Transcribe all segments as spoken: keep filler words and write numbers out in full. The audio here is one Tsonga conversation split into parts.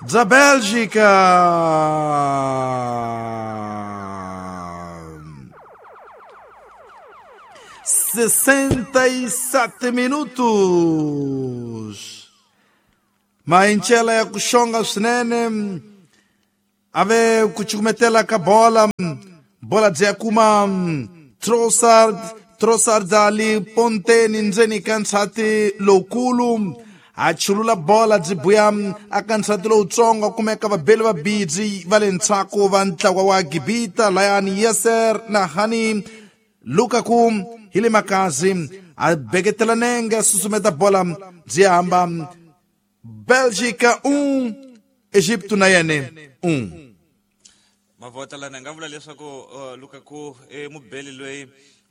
bya Bélgica. sessenta e sete minutos. Mainchela ya kuxonga swinene ave ku cukumetela ka bola bola byi ya kuma Trossard Trossard ali ponteni ndzeni ka nsati lowukulu a chulula bola byi buya aka nsati lowutsongo kumeka vabeli va bidzi va le ndzhaku va ntlawa wa Gibita layani Yasser na Hani Lukaku hi le makazi a beketela nenge a susumeta bola byi hamba Bélgica um Egipto na yene um. Mavota lana nga vula leswaku uh, Lukaku e mubeli loyi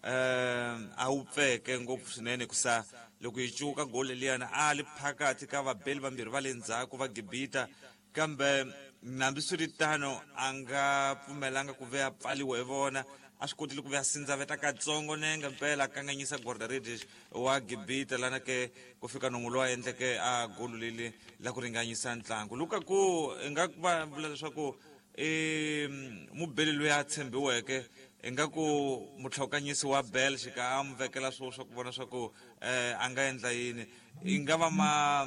uh, a wu pfeke ngopfu swinene kusa loko yi cuka goli liyana a li phakathi ka vabeli vambirhi va le ndzhaku va Gibita kambe nambiswiritano a nga pfumelanga ku ve a pfaliwa hi vona a swi kotile ku ve a sindzaveta katsongo nenge mpela a kanganyisa guarda-redes wa Gibita lana ke ku fika nomu lowu a endleke a golu leli la ku ringanyisa ntlangu. Lukaku i nga va vula leswaku i mubeli loyi a tshembiweke ingaku mutlhokanyisi wa Belgica a mu vekela swo swa ku vona swa ku eh, a nga endla yini i nga va ma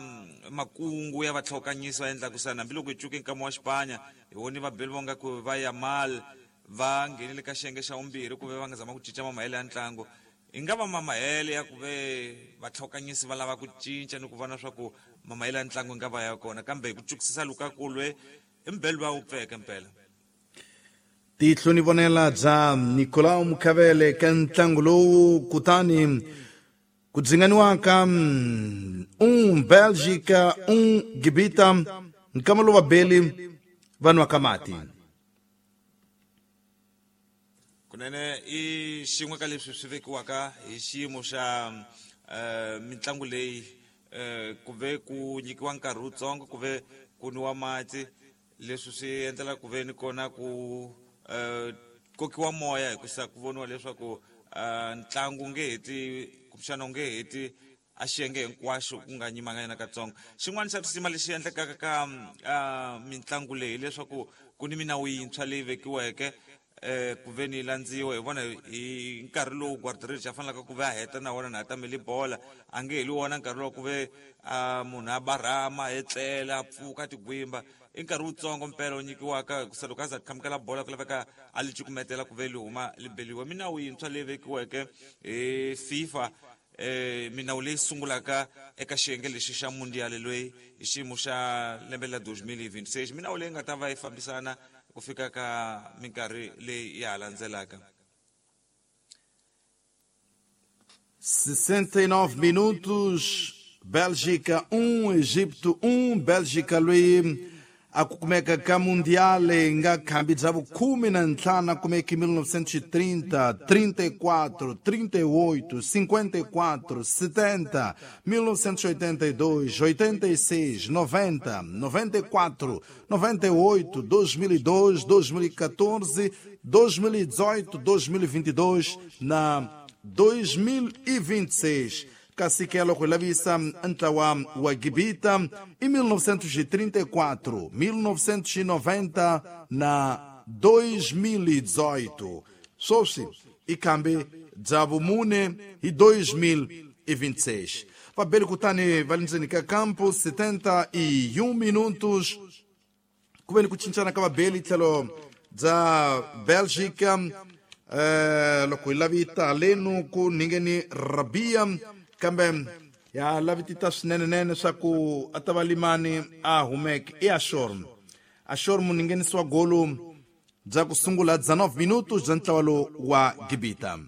makungu ya vatlhokanyisi va endlaku sana hambiloko hi cuke nkama wa Xipanya hi voni vabeli vo nga ku va Yamal va nghenile ka xiyenge xa vumbirhi ku ve va nga zama ku cinca mamahele ya ntlangu i nga va mamahele ya ku ve vatlhokanyisi va lava ku cinca ni ku vona swa ku mamahele ya ntlangu i nga va ya kona kambe hi ku cukisisa Lukaku lwe i mubeli loyi a wu pfeke mpela. Tihlo ni vonela bya Nicolau Mukhavele ka ntlangu lowu kutani ku dzinganiwaka um Bélgica um Gibita nkama lowu vabeli va nwaka mati. Kunene i xin'we ka leswi swi vekiwaka hi xiyimo xa uh, mitlangu leyi uh, ku ve ku nyikiwa nkarhi wutsongo ku ve ku nwiwa mati leswi swi endlela ku ve ni kona ku uh, kokiwa moya hikusa ku voniwa leswaku uh, ntlangu nge heti kumbexana u nge heti a xiyenge hinkwaxo ku nga nyimanga yena katsongo. Xin'wana xa risima lexi endlekaka ka uh, mitlangu leyi hileswaku ku ni minawu yintshwa leyi vekiweke eh ku ve ni landziwa hi vona hi nkarhi lowu guarda-redes a fanelaka ku ve a heta na wona na a tamele bola a nge heli wona nkarhi lowu ku ve munhu a barhama a etlela a pfuka tigwimba i nkarhi wutsongo mpela wu nyikiwaka hikusa loko a za khamukela bola ku laveka a li cukumetela ku ve li huma li beliwa. Minawu yintshwa leyi vekiweke hi FIFA eh minawu leyi sungulaka eka xiyenge lexi xa mundial loyi hi xiyimo xa lembe la deux mille vingt-six minawu leyi nga ta va yi fambisana ku fika ka minkarhi leyi ya ha landzelaka. sessenta e nove minutos, Bélgica um, Egipto um. Bélgica loyi a ku kumeka ka mundial nga khambi bya vukhume na ntlhanu a kumeke mil novecentos e trinta, trinta e quatro, trinta e oito, cinquenta e quatro, setenta, mil novecentos e oitenta e dois, oitenta e seis, noventa, noventa e quatro, noventa e oito, dois mil e dois, dois mil e quatorze, dois mil e dezoito, dois mil e vinte e dois na dois mil e vinte e seis. Kasi ke loko hi lavisa ntlawa wa Gibita i mil novecentos e trinta e quatro, mil novecentos e noventa na dois mil e dezoito. Sweswi i khambi bya vumune hi dois mil e vinte e seis. Vabeli kutani va le ndzeni ka kampo setenta e um minutos ku ve ni ku cincana ka vabeli tlhelo bya Bélgica eh loko hi lavita lenu ku ningeni Rabia kambe ya lavitita swinenenene swa ku a ta va limani a humeke i Ashor. Ashor muninghenisi wa golo bya ku sungula dezenove minutos bya ntlawa lowu wa Gibita.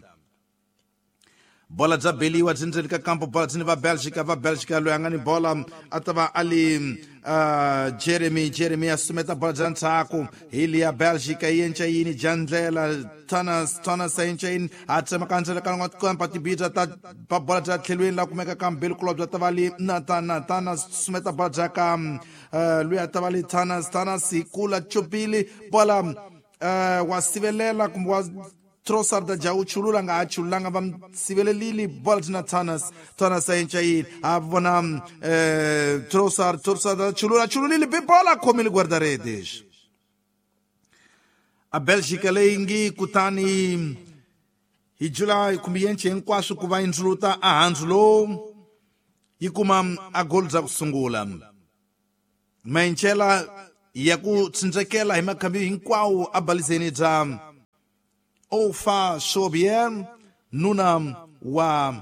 Bola bya beliwa byi ndzeni ka kampo bola byi ni va Bélgica va Bélgica loyi a nga ni bola a ta va a li uh, Jeremy Jeremy a sumeta bola bya ndzhaku hi liya Bélgica yi enca yini dya ndlela Thomas Thomas a enca yini a tsemaka ndzela ka n'wa tibidya ta ba bola bya tlhelweni la kumeka ka mbili kulobya ta va li Nathan Nathan a sumeta bola bya ka uh, loyi a ta va li Thomas Thomas hi kula chopili bola uh, wa sivelela kumbe wa Trossard a dya u chulula nga ha chululanga va sivelelile bola byi na Thomas Thomas a enca yini a vona eh Trossard Trossard a chulula chululile bi bola khomile guarda-redes a Bélgica leyi ngi kutani hi July kumbe yenche hinkwaswo ku va indzuluta a handzu lowu yi kuma a goal bya ku sungula maenchela ya ku tsindzekela hi makhambi hinkwawo a balizeni bya Ofa Sobier nuna wa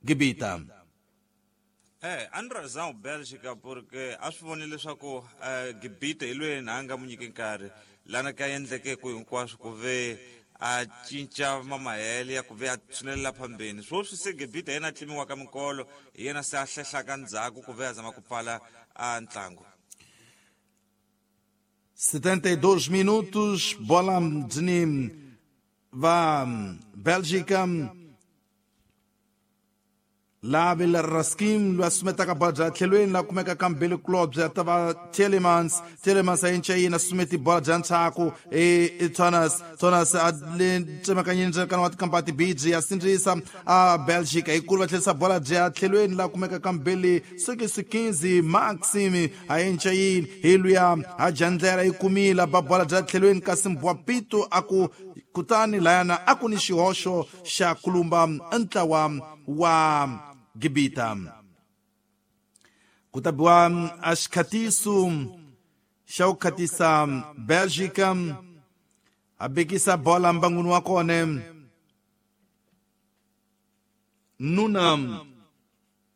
Gibita. Eh, a ni razão Bélgica porque a swi vonile leswaku eh, Gibita hi loyi na a nga mu nyiki nkarhi lana ka endleke ku hinkwaswo ku ve a cinca mamahele ya ku ve a tshunelela phambeni swoswi se Gibita yena a tlimiwaka minkolo hi yena se a hlehlaka ndzhaku ku ve a zama ku pfala a ntlangu. setenta e dois minutos, bola de va Bélgica. La Bela Raskim lo assumetaka bola bya tlhelweni la kumeka kambili club ya tava Telemans Telemans a enca yini asumeti bola bya ntshaku e Thomas Thomas a le tsemakanyeni ndzekana wa tikampati B G ya sindzisa a Bélgica hikulu va tlherisa bola bya tlhelweni la kumeka kambili six quinze Maxime a enca yini hi luya a jandlela yi kumile ba bola bya tlhelweni kasi Mbwapito a ku kutani layana a ku ni xihoxo xa kulumba ntlawa wa Gibita. Ku ta biwa a xikhatiso xa ku khatisa Bélgica a bekisa bola mbangwini wa kona nuna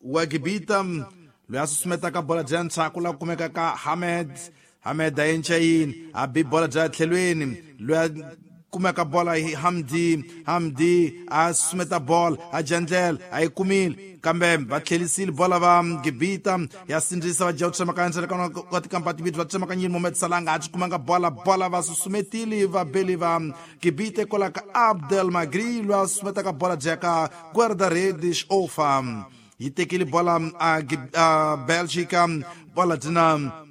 wa Gibita loyi a susumetaka bola bya ntshaku la kumeka ka Hamed Hamed a enca yini a bi bola bya tlhelweni loyi a kumeka bola hi Hamdi Hamdi a sumeta bola a jandlela a yi kumile kambe va tlhelisile bola va Gibita ya sindzisa va dya ku tsemakanya ndzela ka tikampati timbirhi va tsemakanyile Mohamed Salah nga ha byi kumanga bola bola va susumetile va beli va Gibita kwala ka Abdel Magri loyi a sumetaka bola bya ka guarda-redes Ofa yi tekile bola a Bélgica bola dyina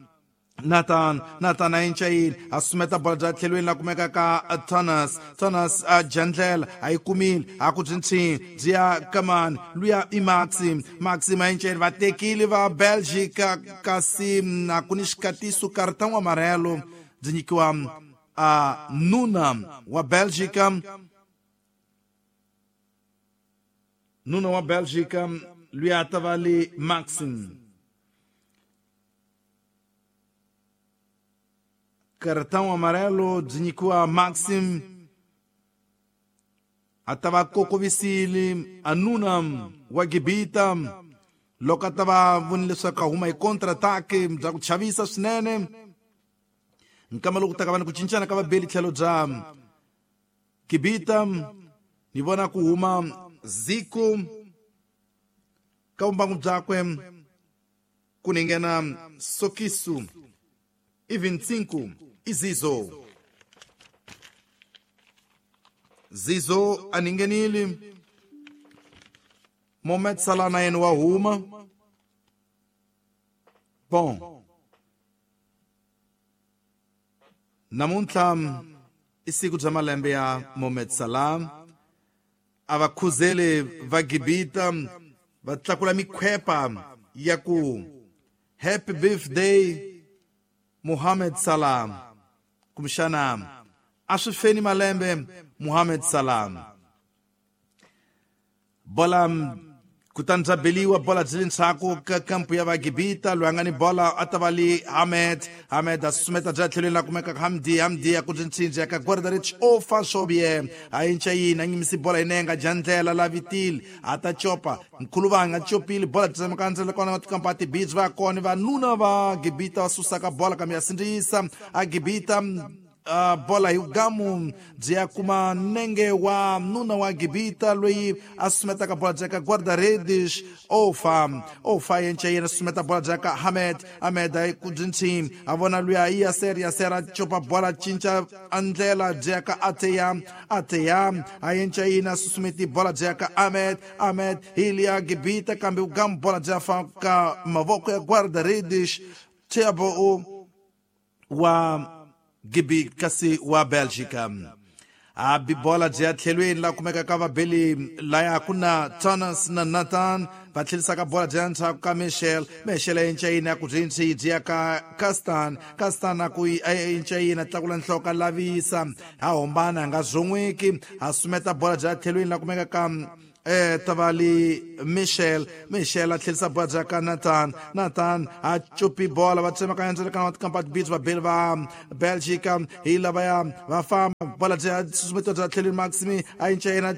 Nathan Nathan a enca yini a sumeta bola bya tlhelweni la kumeka ka Thomas Thomas a jandlela a yi kumile a ku byi ntshini byi ya kamani luya i Maxim Maxim a enca yini va tekile va Bélgica kasi a ku ni xikatiso cartão amarelo byi nyikiwa a nuna wa Bélgica nuna wa Bélgica luya a ta va le Maxim. Cartão amarelo byi nyikiwa Maxim a ta va kokovisile a nuna wa Gibita loko a ta va vonile leswaku a huma hi contre-attaque bya ku chavisa swinene nkama loko ta ka va ni ku cincana ka vabeli tlhelo bya Gibita ni vona ku huma Zico ka vumbangu byakwe ku ni nghena Sokisu e vinte e cinco e Zizo. Zizo aningenile. Mohamed Salah na yena wa huma. Bom. Namuntlha i siku bya malembe ya Mohamed Salah. A va khuzele va Gibita va tlakula mikhwepa ya ku happy birthday Mohamed Salah. Kumbexana a swi feni malembe Mohamed Salah. Bola kutani bya beliwa bola byi le ndzhaku ka kampu ya va Gibita loyi a nga ni bola a ta va le Hamed Hamed a susumeta bya tlhelweni la kumeka Hamdi Hamdi a ku byi ntshindzi ya ka guarda-redes Ofa Sobier a enca yini a nyimisi bola yi nenga jandlela la vitile a ta copa nkhuluvanga a copile bola byi tsemaka ndzela kona va tikampati beach va kona vanuna va Gibita va susaka bola kambe ya sindzisa a Gibita Uh, bola hi gamu byi ya kuma nenge wa nuna wa Gibita loyi a sumetaka bola bya ka guarda-redes Ofa Ofa yenca yena sumeta bola bya ka Hamed Hamed a ku byi ntshini a vona luya i Yaser Yaser a copa bola cinca a ndlela byi ya ka Ateya Ateya a yenca yena a susumeti bola bya ka Ahmed Ahmed hi liya Gibita kambe gamu bola bya fa ka mavoko ya guarda-redes Thiago wa Gibi kasi wa Bélgica. A bi bola byi ya tlhelweni la kumeka ka vabeli laya ku na Thomas na Nathan va tlhelisaka bola byi ya ndzhaku ka Michel. Michel a cinca yini a ku byi byi ya ka Castan. Castan a ku cinca yini a tlakula nhloko a lavisa a hombana a nga zon'weki a sumeta bola byi ya tlhelweni la kumeka ka eh tavali Michel. Michel a tlhelisa bola bya ka Nathan. Nathan a chupi bola va tsemaka endzeni ka Kampat Beach va beli va Belgica hi lavaya va famba bola bya susumetiwa bya tlhelweni Maximi a cinca yena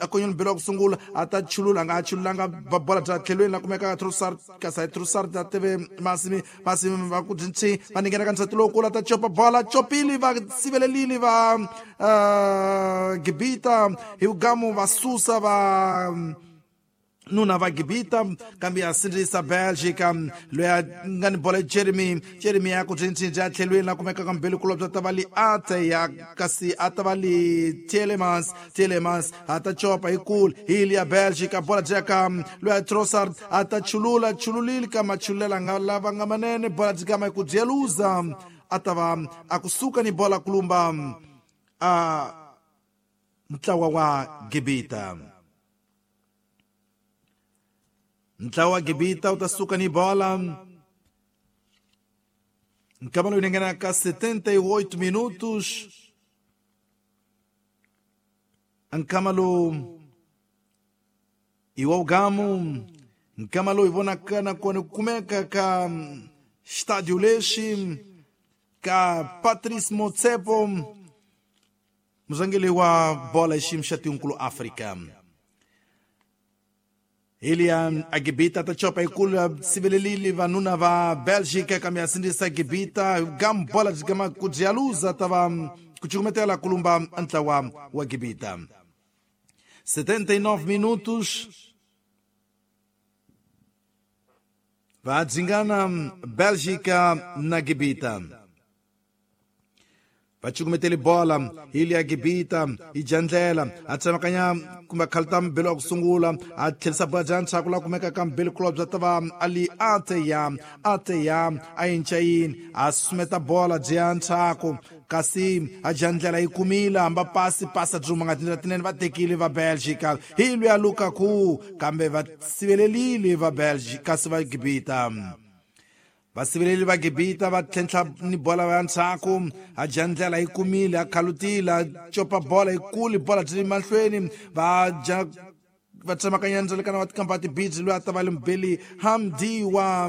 a konyoni belo ku sungula a ta chulula nga chululanga va bola bya tlhelweni la kumeka Trossard kasi Trossard ta teve Maximi. Maximi va ku dzinchi va ningena ka nsati lowukulu a ta chopa bola chopili va sivelelile va uh, Gibita hi vugamu va susa va nuna va Gibita kambe ya sindzisa Belgica loyi a nga ni bola Jeremy. Jeremy ya ku cincinca tlhelweni la kumeka ka mbeli kulobya ta va li ate ya kasi a ta va li Tielemans. Tielemans a ta chopa hi kulu hi li ya Belgica bola bya ka loyi a Trossard a ta chulula chululile ka machulela nga lava nga manene bola byi kama ku dyeluza a ta va a kusuka ni bola kulumba a ntlawa wa Gibita. Ntlawa Gibita u ta suka ni bola nkama lowu nghena ka setenta e oito minutos. Nkama lowu i wa ugamu nkama lowu hi vonaka nakona kumeka ka Estádio lexi ka Patrice Motsepe muzangeli wa bola xiyimo xa tinkulu Afrika. Ili a Gibita ta chopa ikulu sivelelile vanuna va Belgica kambe a sindzisa Gibita gam bola gama ku dyaluza ta va ku cukumetela kulumba ntlawa wa Gibita. setenta e nove minutos va dzingana Belgica na Gibita. Va cukumetele bola ili ya Gibita i jandlela a tsemakanya kumbe khalta mbelo wa ku sungula a tlhelisa bola bya ndzhaku la kumeka ka mbelo kulobya ta va ali ate ya ate ya a cinca yini a sumeta bola byi ya ndzhaku kasi a jandlela yi kumile hamba pasi pasa byi huma nga tindlela tinene va tekile va Belgica hi lwiya Lukaku kambe va sivelelile va Belgica kasi va Gibita. Vasiveleli va Gibita va tlhentlha ni bola ya ndzhaku a jandlela yi kumile a khalutile a copa bola yikulu bola byi mahlweni va ja va tsemakanya ndzelekana wa Tikampati Beach loyi a ta va le mbeli Hamdi wa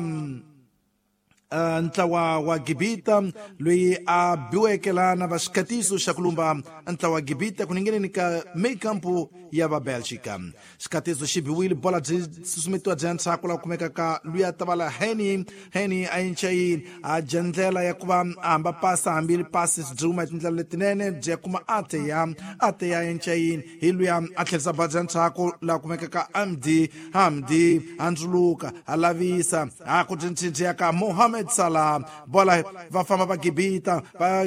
uh, ntlawa wa Gibita loyi a biweke lana va xikhatiso xa ku lumba ntlawa wa Gibita ku ningeneni ka meikampu ya va Belgica. Xikhatiso xi biwile bola byi susumetiwa bya ndzhaku la kumeka ka loyi a ta va la Henny. Henny a cinca yini a dya ndlela ya ku va a hamba pasa hambi pasi byi huma hi tindlela letinene byi ya kuma ate ya ate ya cinca yini hi luya a tlherisa bola bya ndzhaku la kumeka ka Hamdi. Hamdi a ndzuluka a lavisa a ku cincinca ka Mohamed Salah bola va famba va Gibita va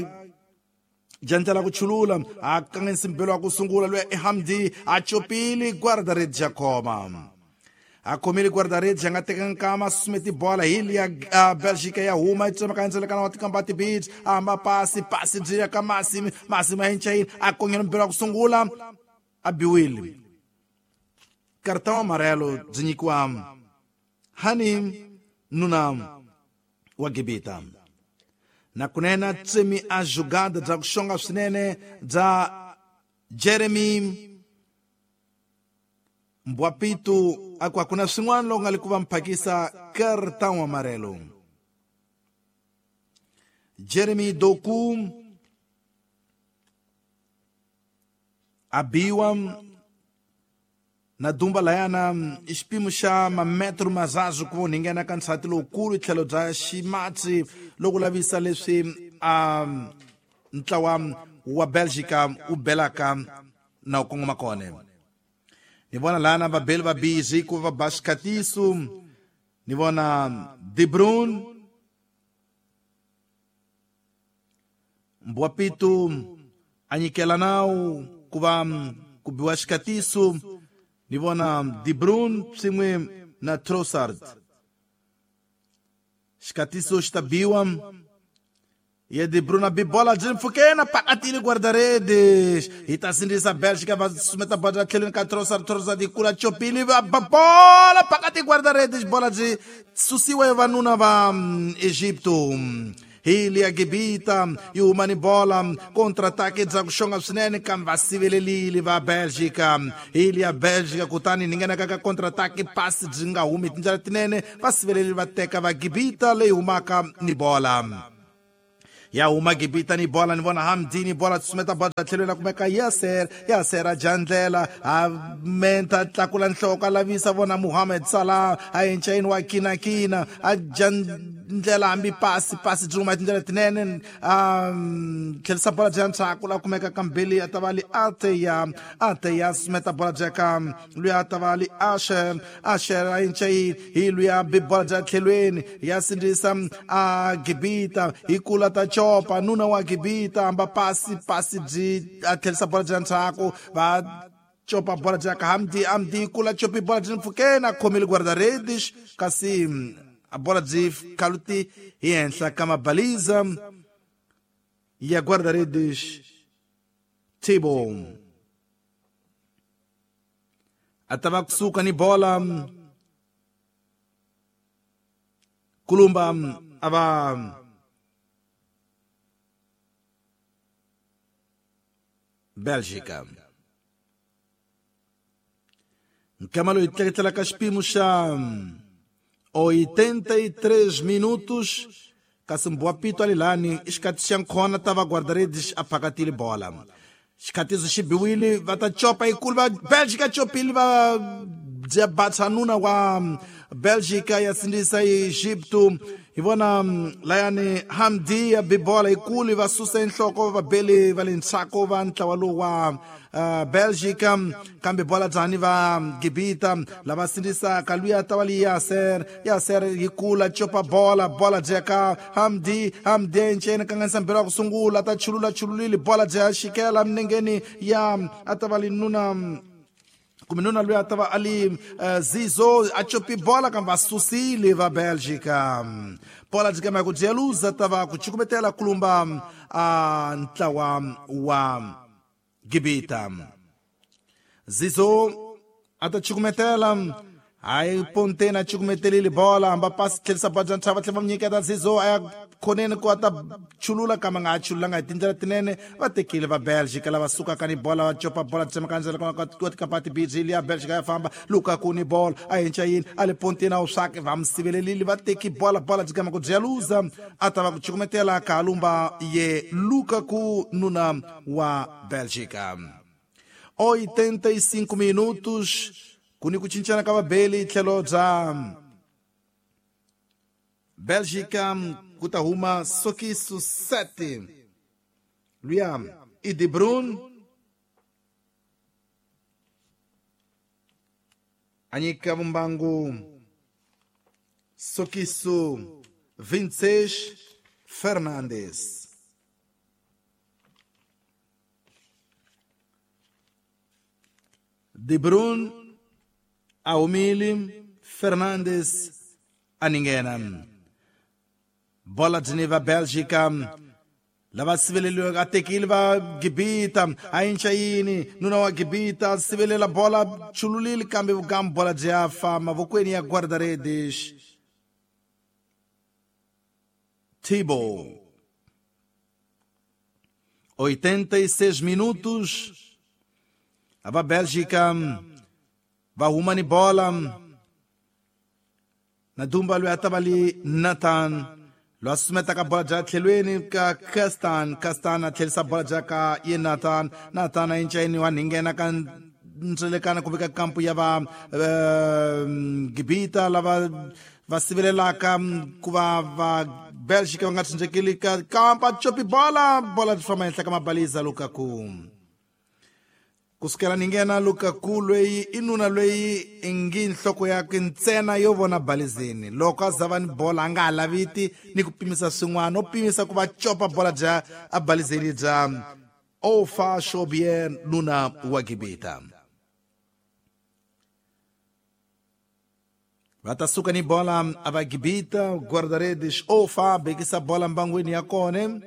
jandlela ku chulula a kanganyisa mbelo wa ku sungula loyi i Hamdi a chopile guarda-redes ya khoma a khomile guarda-redes a nga teka nkama susumeti bola hi liya Belgica ya huma yi tsemaka ndzelekana wa Tikampati Beach a hamba pasi pasi byi ya ka Masimi. Masimi a cinca yini a kongela mbelo wa ku sungula a biwile cartão amarelo byi nyikiwa Hani nuna wa Gibita. Na kunena tsemi a jogada bya ku xonga swinene bya Jeremy Mbwapitu a ku hakuna swin'wana loko nga le ku va mphakisa cartão amarelo. Jeremy Doku a biwa na dumba layana i xipimo xa mametro mazazu ku vonhingena ka nsati lowukulu tlhelo bya ximatsi loko lavisa leswi a ntlawa wa Belgica wu belaka na ku kongoma kona. Ni vona lana vabeli va busy ku va ba xikhatiso. Ni vona De Bruyne Mbwapitu a nyikela nawu ku va ku biwa xikhatiso. Ni vona De Bruyne swin'we na Trossard. Xikhatiso xi ta biwa Ye De Bruyne bibola byi mpfhukeni pakatile guarda-redes hi ta sindzisa Bélgica va sumeta bola tlhelweni ka Trossard. Trossard yi kula chopile va ba bola pakati guarda-redes, bola byi susiwa hi vanuna va Egipto. Hi liya Gibita yi huma ni bola contra-ataque bya ku xonga swinene kambe va sivelelile va Bélgica. Hi liya Bélgica kutani ni nghenaka ka contra-ataque pasi byi nga humi hi tindlela tinene, va sivelelile va teka va Gibita leyi humaka ni bola. Ya huma Gibita ni bola, ni vona Hamdi ni bola tsumeta bola tlhelweni la kumeka Yasser. Yasser a jandlela a menta tlakula nhloko a lavisa vona Mohamed Salah a encayini wa kinakina a jandlela hambi pasi pasi byi huma tindlela tinene a tlhelisa bola bya ndzhaku la kumeka kambeli a ta va li Ateya. Ateya sumeta bola bya ka luya a ta va li Asher. Asher a encayini hi luya bi bola bya tlhelweni ya sindzisa a Gibita hi kula ta chopa nuna wa Gibita amba pasi pasi byi a tlhelisa bola bya ndzhaku va chopa bola bya ka Hamdi. Hamdi kula chopi bola byi mpfhukeni a khomile guarda-redes kasi a bola byi khaluti hi henhla ka mabaliza ya guarda-redes Thibaut. A ta va kusuka ni bola kulumba a va Bélgica. Nkama loyi tleketlela ka xipimo xa oitenta e três minutos kasi Mbuapito ali lani i xikati xa nkhona ta va guarda-redes a phakatile bola. Xikatiso xi biwile va ta copa yikulu va Bélgica chopile va bya batsanuna wa Bélgica ya sindzisa Egipto. Hi vona layani Hamdi ya bibola yikulu va susa enhloko va beli va le ndzhaku va ntlawa lowu wa uh, Bélgica kambe bola dzani va Gibita lava sindzisaka luya ta va li Yasser. Yasser yi kula chopa bola bola dyeka Hamdi. Hamdi enceni kanganisa mbirhi wa ku sungula ta chulula chululile bola dya xikela minengeni ya a ta va li nuna kumbe nuna loyi a ta va a li uh, Zizo a chopi bola kambe va susile va Bélgica. Bola byi kama ku dyeluza ta va ku chukumetela kulumba a ntlawa wa Gibita. Zizo a ta chukumetela hayi Pontena a chukumetelile bola hamba pasi tlhelisa bola bya ntshava tlhela va nyiketa Zizo a ya khoneni ku a ta chulula kambe a nga ha chululanga hi tindlela tinene va tekile va Bélgica lava sukaka ni bola va copa bola tsemaka ndzela kona tikapati biji liya Bélgica ya famba Lukaku ni bola a henca yini a le Pontena wu swake va mi sivelelile va teki bola bola byi kama ku dyaluza a ta va ku chukumetela kalumba ye Lukaku nuna wa Bélgica. oitenta e cinco minutos ku ni ku cincana ka vabeli tlhelo bya Bélgica ku ta huma Sokiso sete luya i De Bruyne a nyika vumbangu Sokiso vinte e seis Fernandes. De Bruyne a humile Fernandes a ninghena. Bola byi va Bélgica lava siveleliweke a tekile va Gibita a inca yini nuna wa Gibita sivelela bola chululile kambe vukambu bola byi ya fa mavokweni ya guarda-redes Thibaut. oitenta e seis minutos a va Bélgica va huma ni bola na dumba loyi a ta va li Nathan loyi a susumetaka bola bya tlhelweni ka Kastan. Kastan a tlhelisa bola bya ka ye Nathan. Nathan a encayini wa ninghena ka ndzelekana kumbe ka kampu ya va uh, Gibita lava va sivelelaka ku va va Bélgica va nga tshunxekeli ka kampa chopi bola bola byi famba henhla ka mabaliza Lukaku. Kusukela ni nghena Lukaku loyi i nuna loyi i ngi nhloko yakwe ntsena yo vona balizeni loko a za va ni bola a nga ha laviti ni ku pimisa swin'wana o pimisa ku va copa bola bya a balizeni bya Ofa Shobier nuna wa Gibita. Va ta suka ni bola a va Gibita guarda-redes Ofa bekisa bola mbangwini ya kone.